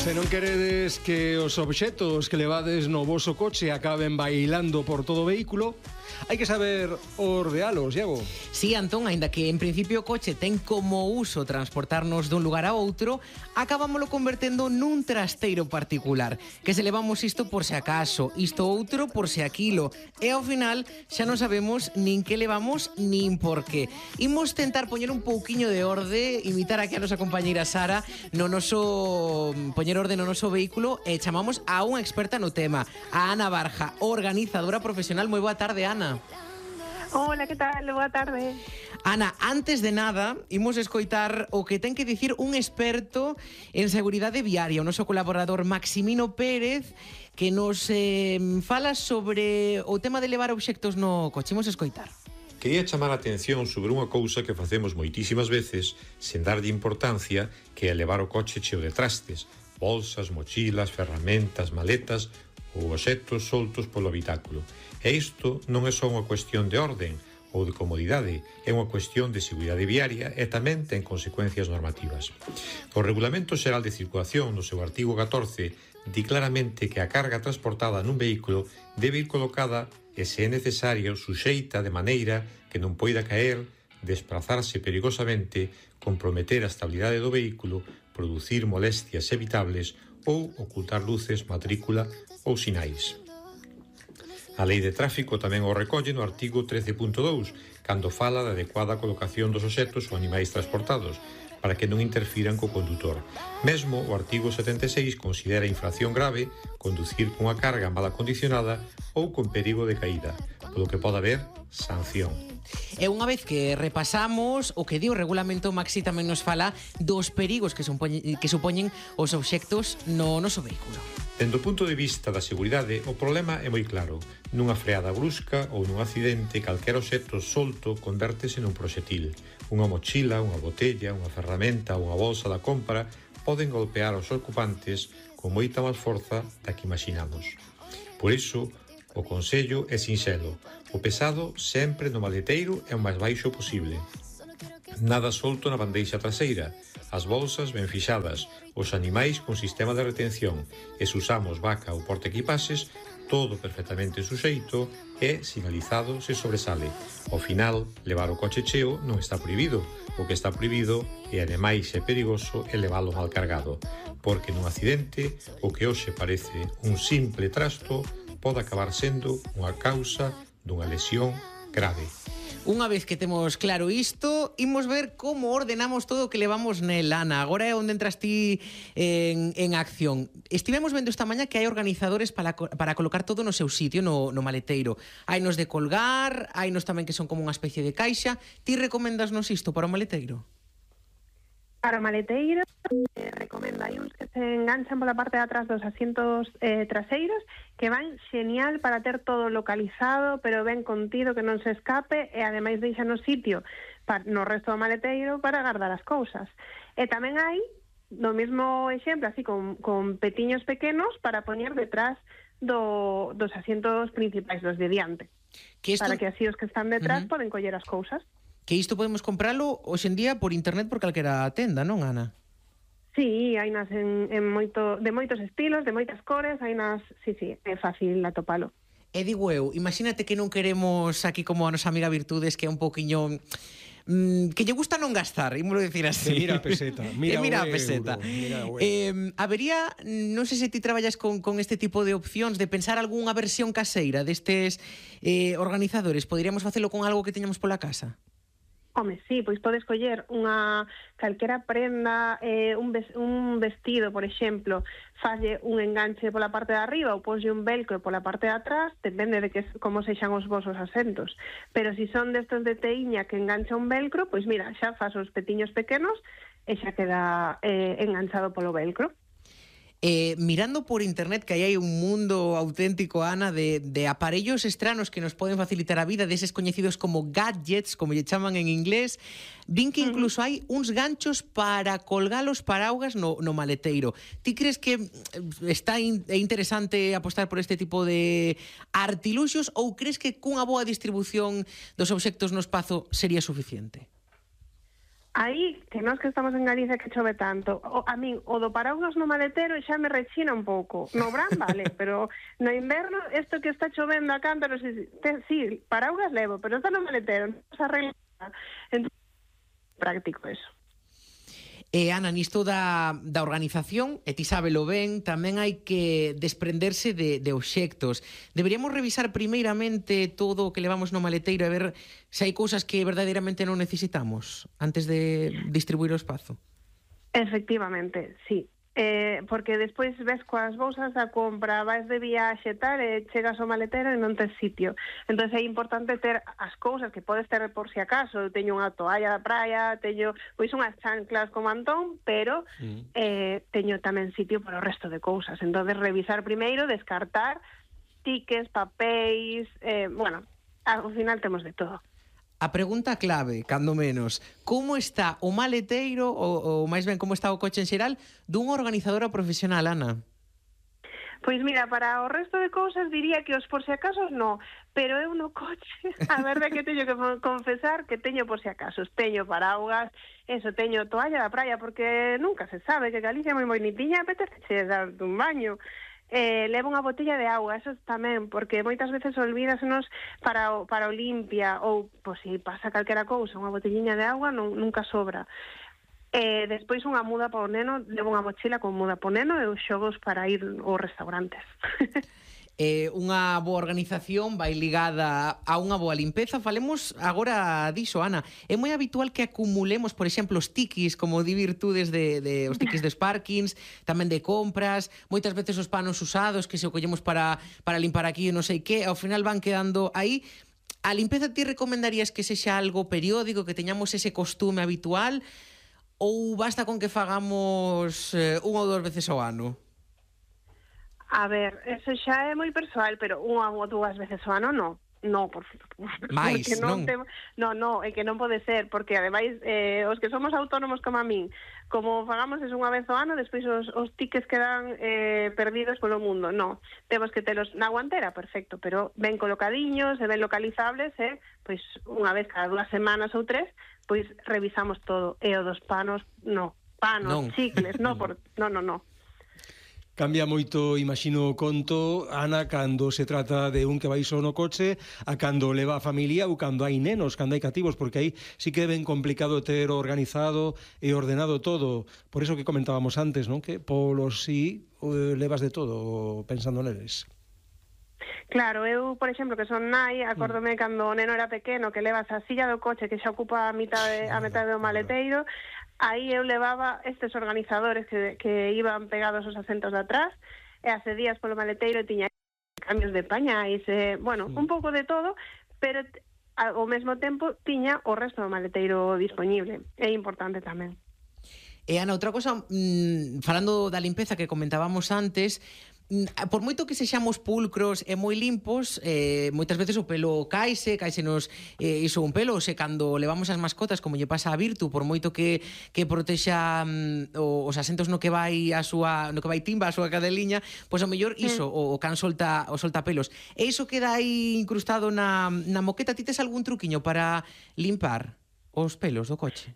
Se non queredes que os obxetos que levades no voso coche acaben bailando por todo o vehículo, hai que saber ordealos, Iago. Sí, Antón, aínda que en principio o coche ten como uso transportarnos dun lugar a outro, acabámoslo convertendo nun trasteiro particular, que se levamos isto por se acaso, isto outro por se aquilo, e ao final xa non sabemos nin que levamos nin por qué. Imos tentar poñer un pouquiño de orde, imitar aquí a nosa compañeira Sara, no noso poñer orde no noso vehículo, e chamamos a unha experta no tema, a Ana Barja, organizadora profesional. Moi boa tarde, Ana. Hola, que tal? Boa tarde. Ana, antes de nada, imos escoitar o que ten que dicir un experto en seguridade viaria, o noso colaborador Maximino Pérez, que nos fala sobre o tema de levar obxectos no coche. Imos escoitar. Quería chamar a atención sobre unha cousa que facemos moitísimas veces sen darlle importancia, que é levar o coche cheo de trastes, bolsas, mochilas, ferramentas, maletas ou obxectos soltos polo habitáculo. E isto non é só unha cuestión de orden ou de comodidade, é unha cuestión de seguridade viaria e tamén ten consecuencias normativas. O Regulamento Xeral de Circulación, no seu artigo 14, di claramente que a carga transportada nun vehículo debe ir colocada e, se é necesario, suxeita de maneira que non poida caer, desplazarse perigosamente, comprometer a estabilidade do vehículo, producir molestias evitables ou ocultar luces, matrícula ou sinais. A Lei de Tráfico tamén o recolle no artigo 13.2, cando fala da adecuada colocación dos obxectos ou animais transportados, para que non interfiran co condutor. Mesmo o artigo 76 considera infracción grave conducir cunha carga mal acondicionada ou con perigo de caída, polo que pode haber sanción. E unha vez que repasamos o que di o regulamento, Maxi tamén nos fala dos perigos que supoñen os obxectos no noso vehículo. Dende o punto de vista da seguridade, o problema é moi claro. Nunha freada brusca ou nun accidente, calquera obxecto solto convértese nun proxetil. Unha mochila, unha botella, unha ferramenta ou unha bolsa da compra poden golpear os ocupantes con moita máis forza da que imaginamos. Por iso, o consello é sinxelo. O pesado sempre no maleteiro é o máis baixo posible. Nada solto na bandeixa traseira, as bolsas ben fixadas, os animais con sistema de retención, e se usamos vaca ou portaequipaxes, todo perfectamente suxeito e sinalizado se sobresale. Ao final, levar o coche cheo non está prohibido. O que está prohibido e ademais é perigoso é levalo mal cargado, porque nun accidente o que hoxe parece un simple trasto pode acabar sendo unha causa dunha lesión grave. Unha vez que temos claro isto, imos ver como ordenamos todo o que levamos nel, Ana. Agora é onde entras ti en acción. Estivemos vendo esta mañá que hai organizadores para colocar todo no seu sitio, no maleteiro. Hainos de colgar, hainos tamén que son como unha especie de caixa. Ti recomendasnos isto para o maleteiro? Para o maleteiro, recomendo, hai uns que se enganchan pola parte de atrás dos asientos traseiros, que van xenial para ter todo localizado, pero ben contido, que non se escape, e ademais deixan o sitio no resto do maleteiro para guardar as cousas. E tamén hai, no mesmo exemplo, así con petiños pequenos, para poñer detrás dos asientos principais, dos de diante, para que así os que están detrás poden coller as cousas. Que isto podemos compralo hoxe en día por internet por calquera tenda, non, Ana? Sí, hai nas de moitos estilos, de moitas cores, hai nas, sí, é fácil atopalo. E digo eu, imagínate que non queremos aquí como a nosa amiga Virtudes, que é un pouquiño que lle gusta non gastar, ímolo dicir así. Mira a peseta, mira a peseta. Habería, non sei se ti traballas con este tipo de opcións, de pensar algunha versión caseira destes organizadores. Poderíamos facelo con algo que teñamos pola casa? Home, sí, pois podes coller unha calquera prenda, un vestido, por exemplo, falle un enganche pola parte de arriba ou poslle un velcro pola parte de atrás, depende de como sexan os vosos asentos. Pero se son destos de teiña que engancha un velcro, pois mira, xa fas os petiños pequenos e xa queda enganchado polo velcro. Mirando por internet, que aí hai un mundo auténtico, Ana, de aparellos estranos que nos poden facilitar a vida, deses coñecidos como gadgets, como lle chaman en inglés. Vin que incluso hai uns ganchos para colgar os paraugas no maleteiro. Ti crees que é interesante apostar por este tipo de artiluxos ou crees que cunha boa distribución dos obxectos no espazo sería suficiente? Aí, que nós que estamos en Galicia que chove tanto, a min o do paraugas no maletero xa me rechina un pouco. No verán vale, pero no inverno, isto que está chovendo a cántaros, sí, paraugas levo, pero está no maletero, non se arregla. Entón, práctico eso. Ana, nisto da organización, e ti sábelo ben, tamén hai que desprenderse de obxectos. Deberíamos revisar primeiramente todo o que levamos no maleteiro e ver se hai cousas que verdadeiramente non necesitamos antes de distribuir o espazo. Efectivamente, sí. Porque despois ves coas bolsas da compra, vais de viaxe tal, e chegas ao maletero e non tes sitio. Entón é importante ter as cousas que podes ter por si acaso. Eu teño unha toalla da praia, teño pois unhas chanclas como Antón, pero teño tamén sitio para o resto de cousas. Entón revisar primeiro, descartar tickets, papéis, bueno, ao final temos de todo. A pregunta clave, cando menos, como está o maleteiro, ou máis ben como está o coche en xeral, dunha organizadora profesional, Ana? Pois mira, para o resto de cousas diría que os por si acaso no, pero eu no coche, a verdade que teño que confesar que teño por si acaso, teño paraugas, eso, teño toalla da praia, porque nunca se sabe que Galicia é moi bonitiña, apetece darte un baño. Levo unha botella de auga, eso tamén, porque moitas veces olvídasenos para o limpia, ou, pois, se pasa calquera cousa, unha botelliña de auga nunca sobra. Despois unha muda para o neno, levo unha mochila con muda para o neno e os xogos para ir aos restaurantes. Unha boa organización vai ligada a unha boa limpeza. Falemos agora diso, Ana. É moi habitual que acumulemos, por exemplo, os tiquis, como di virtudes de os tiquis de Sparkins, tamén de compras, moitas veces os panos usados que se o collemos para limpar aquí non sei que, ao final van quedando aí. A limpeza ti recomendarías que sexa algo periódico, que teñamos ese costume habitual, ou basta con que fagamos unha ou dúas veces ao ano? A ver, eso xa é moi persoal, pero unha ou dúas veces ao ano non. No, por máis, non? No, é que non pode ser, porque ademais os que somos autónomos como a min, como fagamos eso unha vez ao ano, despois os tickets quedan perdidos polo mundo. No, temos que telos na guantera, perfecto, pero ben colocadiños e ben localizables, pois unha vez cada 2 semanas ou 3, pois revisamos todo. E o dos panos, chicles, no. Cambia moito, imagino, o conto, Ana, cando se trata de un que vai só no coche, a cando leva a familia ou cando hai nenos, cando hai cativos, porque aí sí que é ben complicado ter organizado e ordenado todo. Por iso que comentábamos antes, non? Que polos sí levas de todo pensando neles. Claro, eu, por exemplo, que son nai, acórdome cando o neno era pequeno, que levas a silla do coche que xa ocupa a metade do maleteiro. Aí eu levaba estes organizadores que iban pegados aos asentos de atrás, e hace días polo maleteiro tiña cambios de pañais, bueno, un pouco de todo, pero ao mesmo tempo tiña o resto do maleteiro disponible. É importante tamén. E Ana, outra cosa, falando da limpeza que comentábamos antes, por moito que sexamos pulcros e moi limpos, moitas veces o pelo caísenos iso un pelo, se cando levamos as mascotas, como lle pasa a Virtu, por moito que protexa os asentos no que vai Timba, a súa cadeliña, pois ao mellor iso, o can solta pelos. E iso queda aí incrustado na moqueta. Ti tes algún truquiño para limpar os pelos do coche?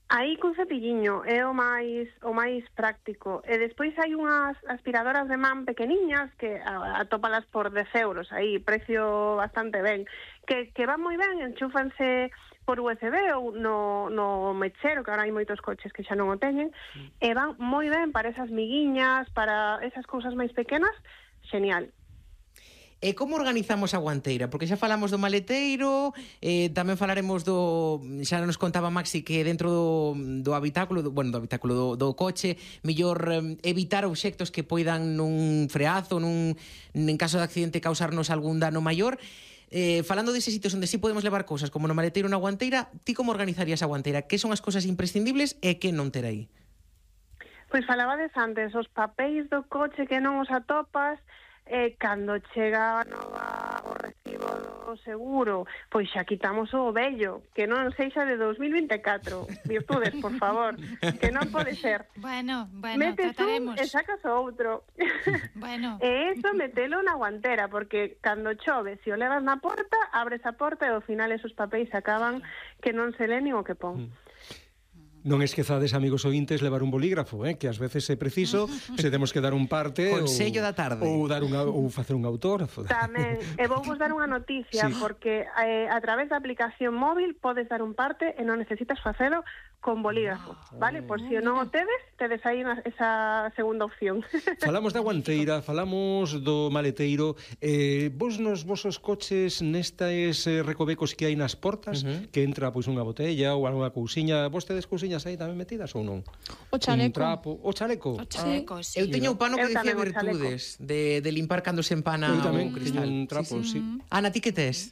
Aí con cepilliño é o máis práctico. E despois hai unhas aspiradoras de man pequeniñas que atópalas por 10 euros, aí precio bastante ben, que van moi ben, enchúfanse por USB ou no mechero, que agora hai moitos coches que xa non o teñen, e van moi ben para esas miguiñas, para esas cousas máis pequenas, genial. E como organizamos a guanteira? Porque xa falamos do maleteiro, tamén falaremos xa nos contaba Maxi que dentro do habitáculo, do coche, mellor evitar obxectos que poidan nun freazo, en caso de accidente causarnos algún dano maior. Falando deses sitios onde sí podemos levar cousas, como no maleteiro ou na guanteira, ti como organizarías a guanteira? Que son as cousas imprescindibles e que non ter aí? Pois falabades antes, os papéis do coche que non os atopas, cando chega o recibo do seguro, pois xa quitamos o vello, que non sexa de 2024. Virtudes, por favor, que non pode ser. Bueno, Metes trataremos. un e sacas o outro. Bueno. E eso metelo na guantera, porque cando chove, se o levas na porta, abres a porta e ao final esos papéis acaban que non se len nin o que pon. Non esquezades, amigos ointes, levar un bolígrafo, que ás veces é preciso, se temos que dar un parte Consello da tarde. ou facer un autógrafo. Tamén, e vou vos dar unha noticia, Sí. porque a través da aplicación móvil podes dar un parte e non necesitas facelo con bolígrafo, vale? Por si non o tedes aí esa segunda opción. Falamos da guanteira, falamos do maleteiro. Vos nos vosos coches nestes recovecos que hai nas portas, que entra pois unha botella ou algunha cousiña, vos tedes cousiñas aí tamén metidas ou non? O chaleco. Un trapo, o chaleco. O chaleco, sí. Eu teño o pano que Eu dicía tamén o chaleco. virtudes de limpar cando se empana Eu tamén o teño cristal. un trapo, sí. Ana, ti que tes?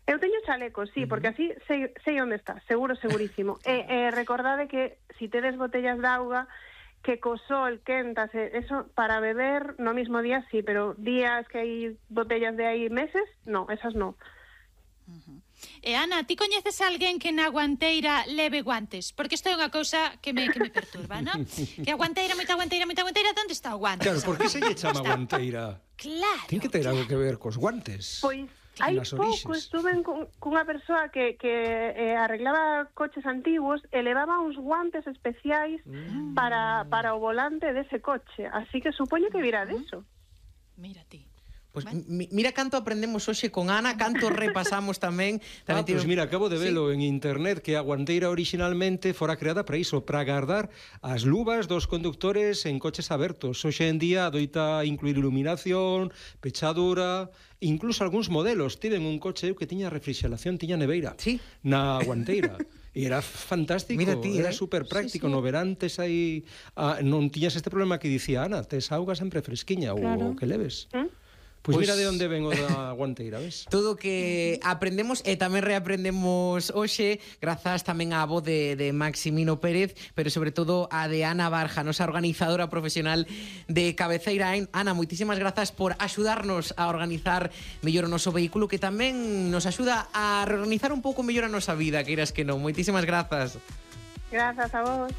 Eu teño chaleco, sí, porque así sei onde está, segurísimo. E recordade que si tedes botellas de auga, que co sol quentas, eso para beber no mismo día sí, pero días que hai botellas de aí meses, no, esas no. E Ana, ti coñeces a alguén que na guanteira leve guantes? Porque isto é unha cousa que me perturba, non? Que a guanteira, moita guanteira, onde está o guante? Claro, por que se lle chama guanteira? Claro. Ten que ter algo que ver cos guantes. Pois hai Nas pouco orixes. estuve cunha persoa que arreglaba coches antiguos e levaba uns guantes especiais para o volante dese coche. Así que supoño que virá deso. Mira ti. Pues mira canto aprendemos hoxe con Ana, canto repasamos tamén. Pois mira, acabo de velo en internet que a guanteira originalmente fora creada para iso, para guardar as luvas dos conductores en coches abertos. Hoxe en día adoita incluir iluminación, pechadura, incluso algúns modelos tiven un coche que tiña refrigeración, tiña neveira Sí. na guanteira. E era fantástico, Mira ti, era super práctico. No verán tes aí non tiñas este problema que dicía Ana, tes auga sempre fresquiña Claro. ou que leves. Pois- Pois mira de onde ven o da guanteira, ves? Todo que aprendemos e tamén reaprendemos hoxe grazas tamén á voz de Maximino Pérez, pero sobre todo a de Ana Barja, nosa organizadora profesional de Cabeceira. Ana, moitísimas grazas por axudarnos a organizar mellor o noso vehículo, que tamén nos axuda a reorganizar un pouco mellor a nosa vida, queiras que non. Moitísimas grazas. Grazas a vos.